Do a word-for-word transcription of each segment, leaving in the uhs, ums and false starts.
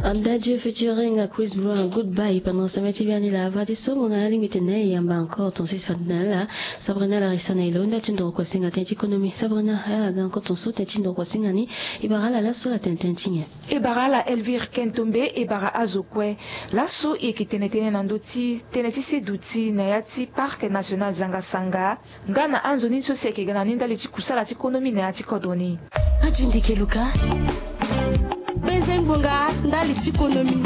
Adieu featuring Chris Brown, Goodbye. Pendant semaine ti biani la, fadeso mo na alingbi tene e yamba encore ton six fade na ala. Sabrina Larissa na e lo nda ti ndoro kua singa tënë ti économie. Sabrina, ala ga encore ton so tënë ti ndoro kua singa ni. E bara ala laso ala tene tënë ti nyen? E bara ala Elvire Kentombe, e bara azo kue. Laso e yeke tene tënë na ndö ti tënë ti seduti na ya ti Parc National Zanga Sanga. Nga na anzoni so si ayeke ga na ni ndali ti kusala ti konomi na ya ti kodro ni. Radio Ndeke Luka, penze ngbonga ndali ti konomi.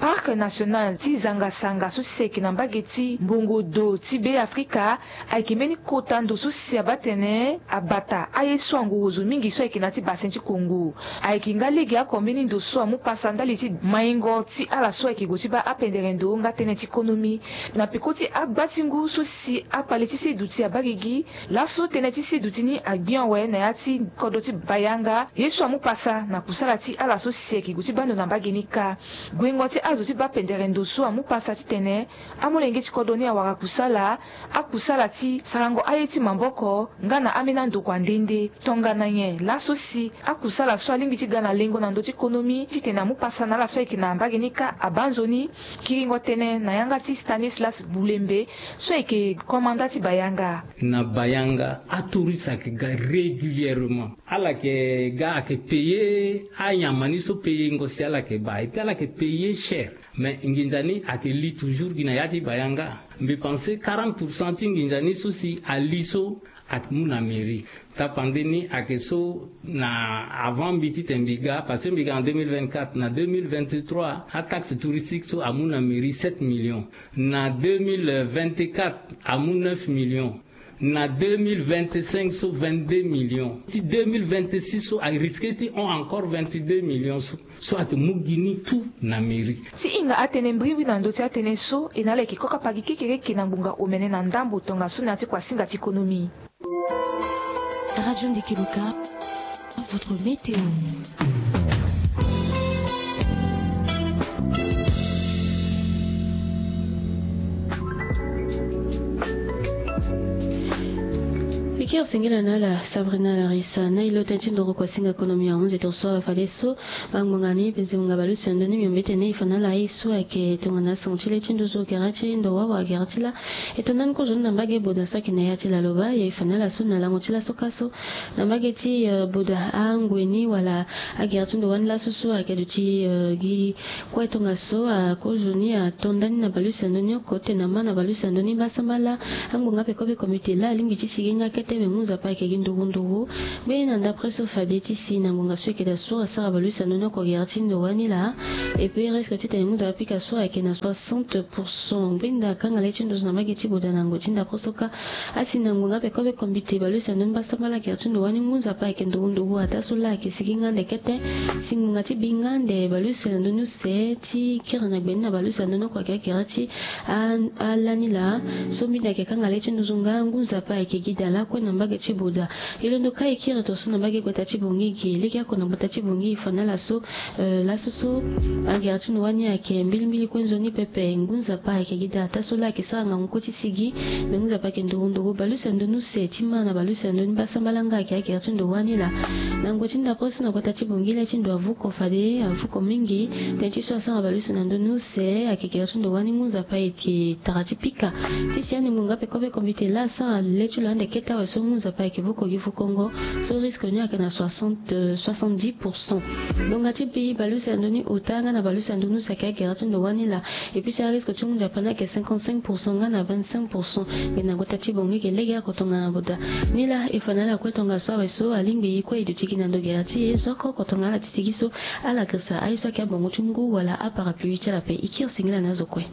Parc National ti Zanga Sanga so si ayeke na mbage ti mbongo do ti Be Afrika ayeke mbeni kota ndo so si abaa tene abata aye so angoro zo mingi so ayeke na ya ti Bassin ti Congo. Ayeke nga lege oko mbeni ndo so amu pasa ndali ti maingo ti ala so ayeke gue ti baa apendere ndo nga tënë ti konomi. Na peko ti agba ti ngu so si akpale ti seduti abaa gigi, laso tënë ti seduti ni agbi awe na ya ti kodro ti Bayanga, ye so amu pasa na kusala ti ala so si ayeke gue ti baa ndo na mbage ni kâ. Guengo ti azo ti baa pendere ndo so amu pasa titene amolenge ti kodro ni awara kusala, akusala ti sarango aye ti maboko nga na ambeni andokua nde nde. Tongana nyen? Laso si akusala so alingbi ti ga na lengo na ndö ti konomi titene amu pasa na ala so ayeke na mbage ni kâ abaa nzoni. Kiringo tënë na yanga ti Stanislas Bulembe so ayeke komanda ti Bayanga. Na Bayanga, atouriste ayeke ga régulièrement. Ala yeke ga, ayeke payer anyama ni so payengo si ala yeke baa, et puis ala yeke payer cher. Mais nginza ni ayeke li toujours gi na ya ti Bayanga. Mbi pense quarante pour cent ti nginza ni so si ali so amu na mairie. Tapande ni ayeke so na avant mbi titene mbi ga, parce que mbi ga en deux mille vingt-quatre, na deux mille vingt-trois ataxe touristique so amu na mairie sept millions. Na deux mille vingt-quatre amu neuf millions. Na deux mille vingt-cinq so vingt-deux millions. Ti deux mille vingt-six so arisque ti hon encore vingt-deux millions so, so ayeke mu gi ni tout na mairie. Ti hinga atënë mbrimbri na ndö ti atënë so, e na ala yeke koka pagi kekereke na ngbonga omene na ndambo tongaso na ya ti kuasinga ti konomi. Radio Ndeke Luka, votre météo. Piker singila na ala Sabrina Larissa na e lo tënë ti ndoro kuasinga konomi ahunzi tongana so ala fadeso. Bangbonga ni penze ngbonga baleuse na ndö ni miombe tene e fa na ala aye so ayeke tongana asango ti le ti nduzu gere ti ndo wawa gere ti lâ. E to ndani kozo ni na mbage boda so ayeke na ya ti laloba, e fa na ala so na lango ti laso ka so. Na mbage ti, eh, boda angwe ni wala agere ti ndo wani laso so ayeke duti, eh, gi kue tongaso, ah, kozo ni ato ndani na baleuse na ndö ni oko titene ama na baleuse na ndö ni basambala. Angbonga pekope komite laa alingbi ti sigi nga kete me mu Nzapa ayeke gi nduru nduru. Mbeni na ndapre so fade ti si na ngbonga so ayeke daa so asara baleuse na ndö ni oko gere ti ndo wani laa. Et puis risque titene mu Nzapa apika so ayeke na soixante pour cent. Mbeni daa kanga le ti ndo so na mbage ti boda na ngoi ti ndapre so kâ. Asi na ngbonga pekope komite baleuse na ndö ni basambala gere ti ndo wani ngu Nzapa ayeke nduru nduru ataa so laa ayeke sigi nga ande kete. Si ngbonga ti bi nga ande baleuse na ndö ni use ti kiri na gbe ni na baleuse na ndö ni oko ayeke agere ti a, alani laa. So mbeni ayeke kanga le ti nduzu nga ngu Nzapa ayeke gi daa lakue na mbage ti boda. E londo kâ e kiri tongana so na mbage gbata ti Bangui ge lege oko na gbata ti Bangui e fa na ala so, eh, laso so agere ti ndo wani ayeke mbilimbili kue nzoni pepe. Ngu Nzapa ayeke gi daa ataa so laa ayeke sara ngangu kue ti sigi. Me ngu Nzapa ayeke nduru nduru baleuse na ndö ni use ti ma na baleuse na ndö ni basambala nga ayeke agere ti ndo wani laa. Na ngoi ti ndapre so na gbata ti Bangui le ti ndo avuko fade avuko mingi. Tënë ti so asara baleuse na ndö ni use ayeke gere ti ndo wani ngu Nzapa ayeke tara ti pika. Ti si ande ngbonga pekope komite laa asara le ti lo ande kete awe so ngu Nzapa ayeke vuko gi vukongo. So risque ni ayeke na soixante, euh, soixante-dix pour cent. Ngbonga ti bi baleuse na ndö ni ota nga na baleuse na ndö ni use ayeke agere ti ndo wani laa. Et puis si arisque ti ngu Nzapa ni ayeke cinquante-cinq pour cent nga na vingt-cinq pour cent. Ngbene na gbata ti Bangui ge lege oko tongana boda. Ni laa e fa na ala kue tongaso awe so alingbi e kue e duti gi na ndo gere ti e so oko oko tongana ala ti sigi so. Ala girisa aye so ayeke abongo ti ngu wala aparapluie ti ala ape. E kiri singila na azo kue.